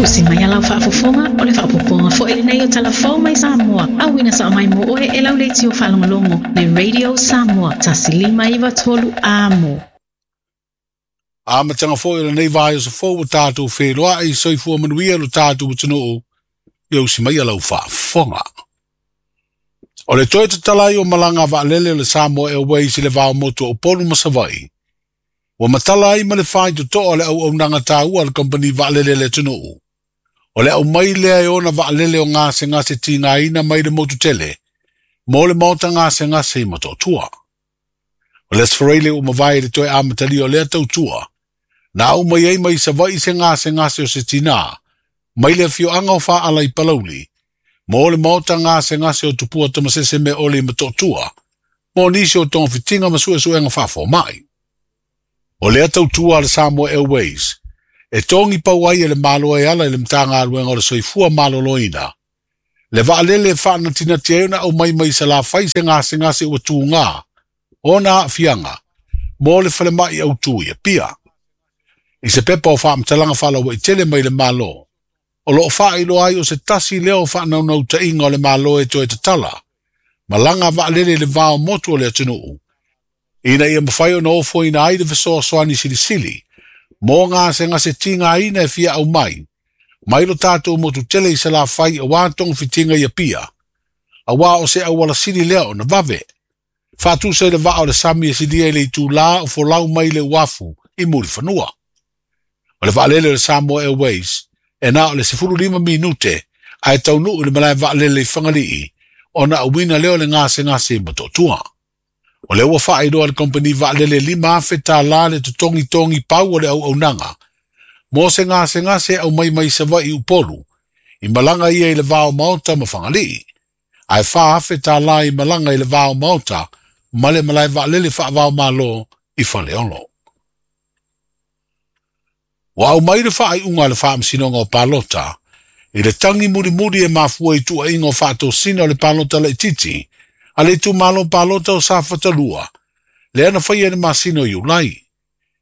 Usi mai a lau faafofoga, o le faaopoopoga foi lenei o Tala Fou mai Samoa, auina sao mai mo oe e lau leitio faalogologo le Radio Samoa 1593 Amo. Amataga foi o lenei vaiaso fou ua tatou feiloai, soifua manuia lo tatou atunuu, ia usi mai a lau faafofoga. O le toe tatala ai o malaga a vaalele o le Samoa Airways i le va o motu o Upolu ma Savaii, ua matala ai ma le faitotoa le auaunaga taua a le kamupani vaalele a le atunuu. O le aumai lea e ona vaalele o gasegase tigaina mai le motu tele mo le maota gasegase i Motootua. O le Aso Faraile ua mavae i le toe amatalia o lea tautua, na aumai ai mai Savaii se gasegase o se tinā mai le afioaga o Faaala i Palauli mo le maota gasegase o Tupua Tamasese Meaole i Motootua mo nisi o togafitiga ma suesuega faafomai. O lea tautua a le Samoa Airways e togi pau ai e le Malo e ala i le Matagaluega o le Soifua Maloloina le vaalele e faanatinati ai ona aumai mai Salafai se gasegase ua tuga ona aafiaga mo le falemai autū i Apia. I se pepa o faamatalaga faalauaitele mai le Malo, o loo faailoa ai o se tasi lea o faanaunautaiga o le Malo e toe tatala malaga vaalele i le va o motu o le atunuu, ina ia mafai ona ofoina ai le fesoasoani silisili mo gasegase tigaina e fia aumai mai lo tatou motu tele i Salafai auā togafitiga i Apia, auā o se auala sili lea ona vave. Faatusa i le vaa o le sami e silia i le itulā o folau mai le uafu i Mulifanua. O le vaalele o le Samoa Airways e na o le 15 minute ae taunuu i le malae vaalele i Fagalii ona auina lea o le gasegase i Motootua. O lea ua faailoa le kamupani vaalele $5,000 le totogitogi pau o le auaunaga mo se gasegase e aumai mai Savaii i Upolu i malaga ia i le va o Maota ma Fagalii, ae $4,000 i malaga i le va o Maota ma le malae vaalele faava-o-Malo i Faleolo. Ua aumai le faaiuga a le Faamasinoga o Palota i le tagi mulimuli e mafua i tuuaiga o faatosina o le palota laitiiti a le itumalo palota o Safata 2, lea na faia i le masina o Iulai,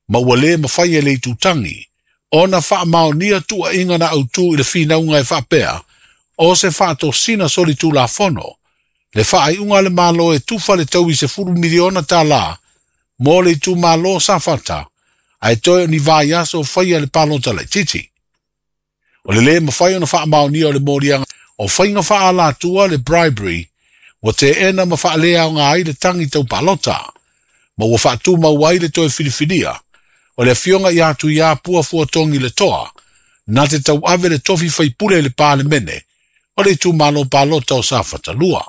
ma ua lē mafai e le itutagi ona faamaonia tuuaiga na autū i le finauga e faapea o se faatosina solitulafono le faaiuga a le Malo e tufa le taui $10 miliona mo le itumalo o Safata, ae toe o ni vaiaso faia le palota laitiiti. O le lē mafai ona faamaonia o le moliaga o faiga faaalatua le bribery ua teena ma faaleaoga ai le tagi tau palota, ma ua faatumau ai le toe filifilia o le afioga ia Tuiapua Fuatogi le Toa na te tauave le tofi faipule i le Palemene o le itumalo palota o Safata 2.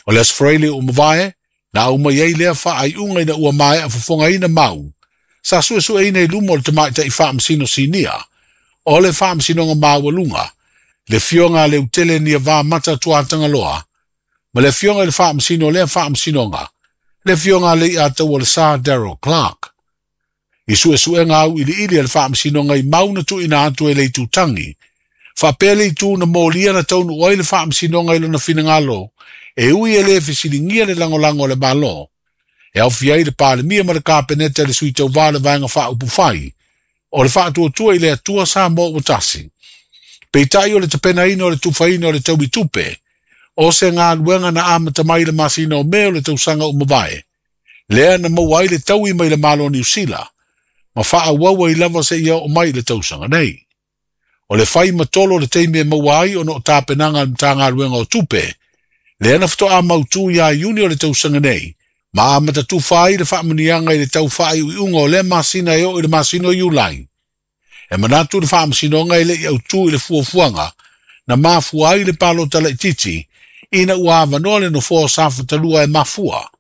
O le Aso Faraile ua mavae na aumai ai lea faaiuga ina ua maea fofogaina mau sa suesueina i luma o le tamaitai faamasino sinia o le Faamasinoga Maualuga, le afioga a Leutele Niavamata Tuatagaloa, ma le afioga i le faamasino o lea faamasinoga, le afioga a Leiataua le Sa Daryl Clark. I suesuega auiliili a le Faamasinoga i mau na tuuina atu e le itutagi, faapea le itu na molia na taunuu ai le Faamasinoga i lona finagalo e ui e lē fesiligia le lagolago a le Malo, e aofia ai le Palemia ma le Kapeneta i le sui tauvā o le Vaega Faaupufai o le Faatuatua i le Atua Samoa ua tasi. Peitai o le tapenaina o le tufaina o le taui tupe, o se galuega na amata mai i le masina o Me o le tausaga ua mavae, lea na maua ai le taui mai le Malo o Niu Sila, ma faaauau ai lava seia oo mai i le tausaga nei. O le fai ma tolo o le taimi e maua ai ona o tapenaga a le Matagaluega o Tupe, lea na faatoa mautū ia Iuni o le tausaga nei, ma amata tufa ai le faamuniaga i le tau faaiuiuga o lea masina e oo i le masina o Iulai. E manatu le Faamasinoga e le i autū i le fuafuaga na mafua ai le palota laitiiti ina ua avanoa le nofoa o Safata 2 e mafua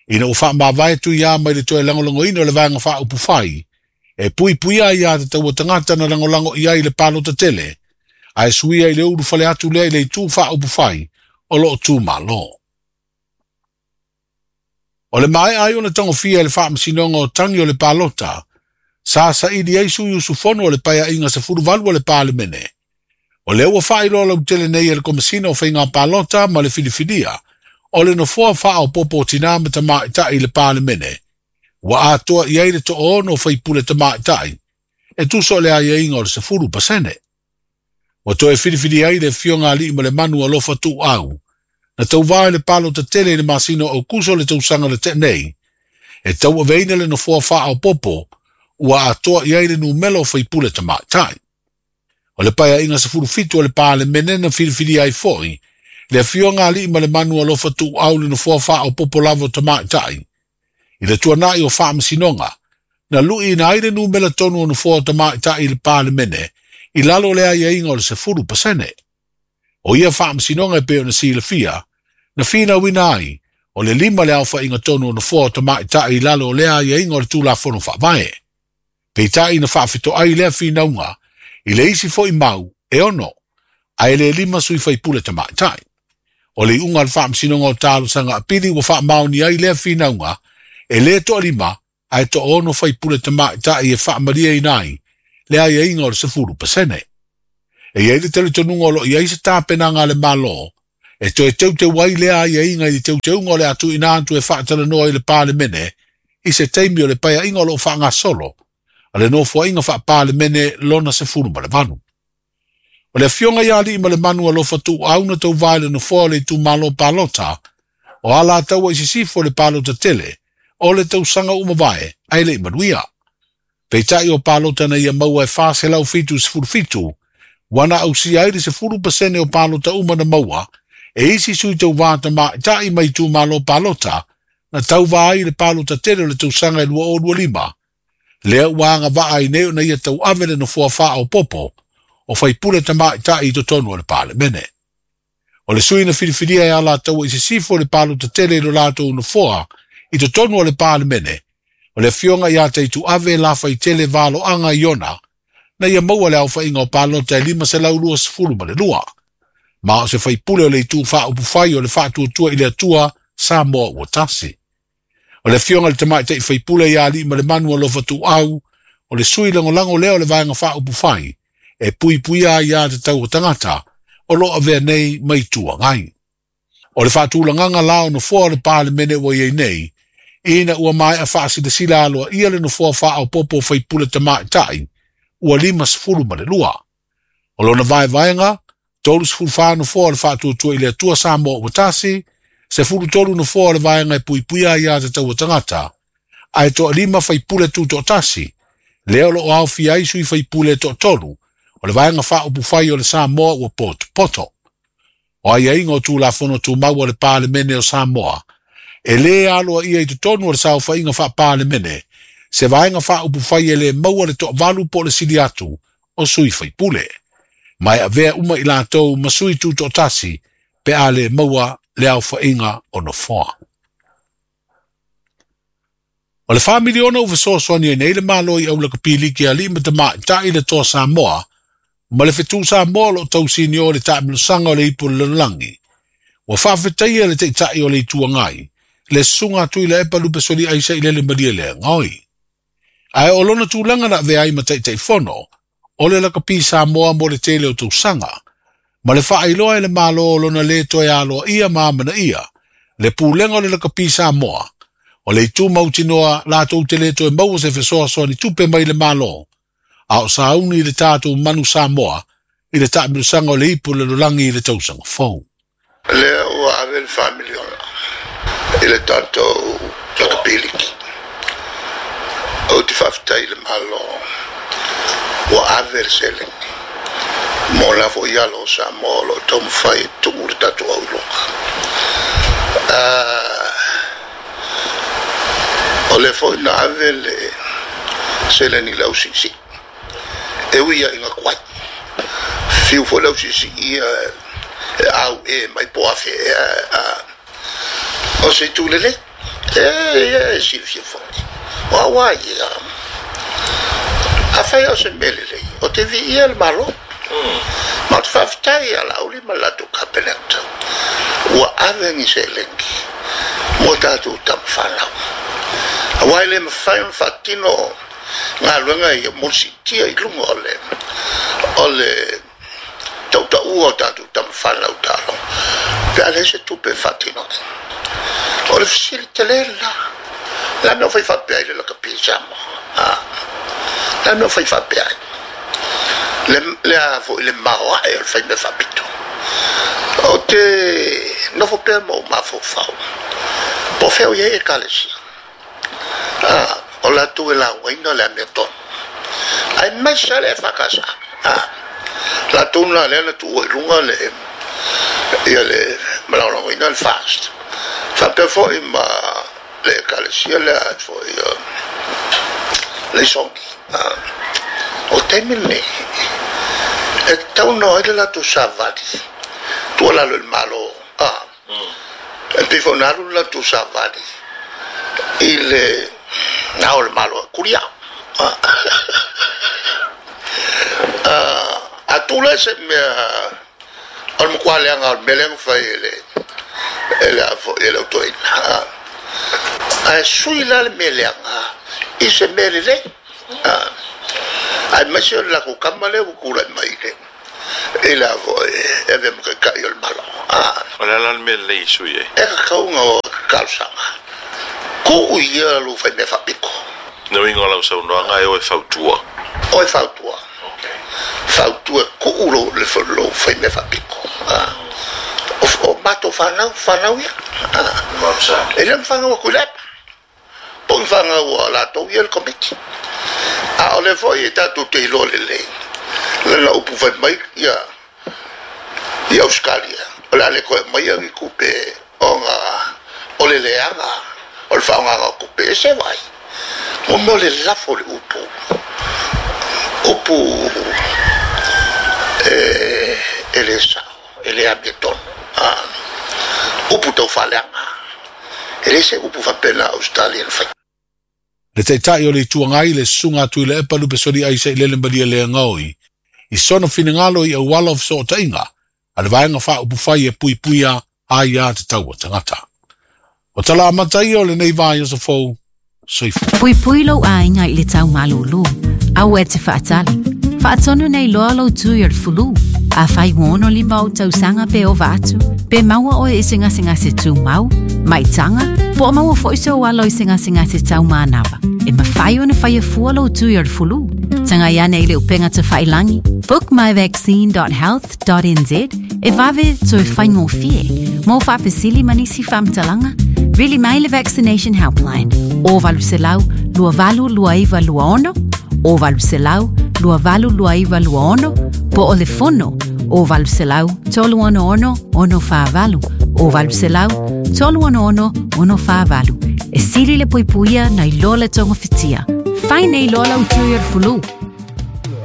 ina ua faamavae Tuiā mai le toe lagolagoina o le Vaega Faaupufai e puipuia ai aiatatau a tagata na lagolago i ai i le palota tele, ae suia i le ulufale atu lea i le itu faaupufai o loo tu Malo. O le maea ai ona tagofia e le Faamasinoga o tagi o le palota, sa saili ai sui usufono o le Paeaiga 18 o le Palemene. O lea ua faailoa lautele nei e le Komesina o Faiga Palota ma le Filifilia o le nofoa faaopoopo o tinā ma tamaitai i le Palemene, ua atoa i ai le 60 o faipule tamaitai, e tusa o le aiaiga o le 10%. Ua toe filifili ai le Afioga Aliimalemanu Alofa Tuuau, na tauvā i le palota tele i le masina o Aokuso o le tausaga na tea nei, e tauaveina le nofoa faaopoopo ua atoa i ai le numera o faipule tamaitai. O le Paeaiga 17 o le Palemene na filifilia ai foi le Afioga Aliimalemanu Alofa Tuuau i le nofoa faaopoopo lava o tamaitai i le tuanai o faamasinoga na luiina ai le numera tonu o nofoa o tamaitai i le Palemene i lalo o le aiaiga o le 10%. O ia faamasinoga e pei ona silafia, na finauina ai o le 5 le aofaiga tonu o nofoa o tamaitai i lalo o lea aiaiga o le Tulafono Faavae. Peitai na faafetoai lea finauga i le isi foi mau e 6, ae le 5 sui faipule tamaitai. O le iuga o le faamasinoga o talosaga apili ua faamaoni ai lea finauga e le toalima ae toaono faipule tamaitai e faamalieina ai le aiaiga o le 10%. E i ai le talitonuga o lo o i ai se tapenaga a le Malo e toe teuteu ai lea aiaiga i le teuteuga o le a tuuina atu e faatalanoa i le Palemene i se taimi o le paeaiga o lo o faagasolo a le nofoaiga faa-Palemene lona 18. O le Afioga ia Aliimalemanu Alofa Tuuau na tauvā i le nofoa o le itumalo palota o Alataua i Sisifo le palota tele o le tausaga ua mavae ae le i manuia. Peitai o palota na ia maua e 477 ua na ausia ai le 10% o palota uma na maua e isi sui tauvā tamaitai mai itumalo palota na tauvā ai le palota tele o le tausaga e 2025. Lea ua agavaa ai nei ona ia tauave le nofoa faaopoopo o faipule tamaitai i totonu o le Palemene. O le sui na filifilia e Alataua i Sisifo le palota tele i lo latou nofoa i totonu o le Palemene, o le Afioga ia Taituave Lafaitele Valoaga Iona, na ia maua le aofaiga o palota e 522, ma o se faipule o le itu faaupufai o le faatuatua i le Atua Samoa ua tasi. O le Afioga i le Tamaitai Faipule ia Aliimalemanu Alofa Tuuau, o le sui lagolago lea o le vaega faaupufai e puipuia ai ia tatau o tagata o lo o avea nei ma Itu Agai. O le faatulagaga la o nofoa o le Palemene ua i ai nei, ina ua maea faasilasila aloaia le nofoa faaopoopo o faipule tamaitai ua 52. O lona vaevaega, 34 nofoa o le faatuatua i le Atua Samoa ua tasi, 13 nofoa o le vaega e puipuia ai ia tatau o tagata, ae toalima faipule tutoatasi, lea o lo o aofia ai sui faipule toatolu o le vaega faaupufai o le Samoa ua potopoto. O aiaiga o Tulafono Tumau a le Palemene o Samoa, e lē aloaia i totonu o le saofaiga faa-Palemene se vaega faaupufai e lē maua le toavalu po o le sili atu o sui faipule, ma e avea uma i latou ma sui tutoatasi pe a lē maua le aofaiga o nofoa. O le 4 miliona ua fesoasoani ai nei le Malo i aulakapiliki a alii ma tamaitai i le Toa Samoa ma le Fetu Samoa o lo o tausinio i le taamilosaga o le ipu o le lalolagi. Ua faafetaia le Taitai o le Itu Agai, le Susuga a Tuilaepa Lupesoli Aisa i Lele Malielegaoi. Ae o lona tulaga na avea ai ma Taitaifono o le Lakapi Samoa mo le tele o tausaga, ma le faailoa e le Malo o lona lē toe aloaia ma amanaia le pulega o le Lakapi Samoa, o le itu mautinoa latou te lē toe maua se fesoasoani tupe mai le Malo, a o sauni i le tatou manu Samoa i le taamilosaga o le ipu o le lalolagi i le tausaga fou. Lea ua ave le 4 miliona i le tatou lakapiliki. Ou te faafetai i le Malo ua ave le seleni mo la foi alo o Samoa o lo o taumafai e tuu le tatou auiloga. O lea foi na ave le seleni i le ausiisii e ui ia i ga tuai. Fiu foi le ausiisii ia e au e mai po afe ea o se itu lelei. E silafia foi. O au ai ia. A fai o se mea lelei, o te viia le Malo. Ma o te faafetai ia Laauli ma le latou Kapeneta ua ave ni seleni mo tatou tama fanau. Auā e le mafai ona faatino galuega ia mo le siitia i luga o le tautaua o tatou tama fanau taaloga pe a leai se tupe e faatino ai. O le fesili tele lena. Le a mea o fai faapea ai le lakapi i Samoa? A? Le a mea o fai faapea ai? Le le a foi le maoae o le faimea faapito. O te nofo pea ma ou mafaufau. Po o fea o i ai ekalesia. A, o latou e laugaina le amiotonu. Aemaise lava le EFKS. A, latou na lea na tuua i luga le ia le malagolagoina le fast. Faapea foi ma le ekalesia lea foi le Isogi. O taimi lenei, e tatau ona o ai le latou savali tuualalo i le Malo. E pei foi ona alu le latou savali i le na o le Malo e kulia. A tu lea se mea o le matua leaga o le mea lea na fai e le e le e le autoina. Ae sui la le mea leaga i se mea lelei. Aemaise o le latou kama lea ua tulai mai le i le foi e avea ma taitai o le Malo. O le a la le mea lelei e sui ai? E tatau ona talosaga. Tuu ia lou faimea faapito. Le uiga o lau saunoaga e o e fautua. O e fautua. Fautua tuu lou, le, lou faimea faapito. O matou fanau, fanau ia. E le fanau a Tuilaepa. Po o ni fanau a latou ia le Komiti. A o lea foi e tatou te iloa lelei lana upu fai mai ia i Ausetalia, o le a le toe aumaia ni tupe ona o le leaga o le faaaogaina o tupe e se vai. Mo mea o le lafo o le upu, upu e le sao, e le amiotonu, upu tau faaleaga. E leai se upu faapena a Ausetalia na faia. Le Taitai o le Itu Agai, le Susuga a Tuilaepa Lupesoliai Sailele Malielegaoi, i sona finagalo i auala o fesootaiga a le Vaega Faaupufai e Puipuia Aia Tatau a Tagata. O tala amata ia o lenei vaiaso fou. Soifua. Puipui lou aiga i le tau malūlū. Aua e te faatali. Faatonu nei loa lou tui o le fulu. Afai ua 65 ou tausaga pe ova atu, pe maua oe i se gasegase tumau, maitaga, po o maua foi sou alo i se gasegase tau manava, e mafai ona faia fua lou tui o le fulu. Tagai ane i le upega tafailangi bookmyvaccine.health.nz e vave toe faigofie. Mo faafesili ma nisi faamatalaga, vili mai le Vaccination Helpline o 800 2829 26 o 800 2829 26 po o le fono o 800 366 648 o 800 366 648. E sili le puipuia nai lo le togafitia. Fai nei loa lau tui o le fulu.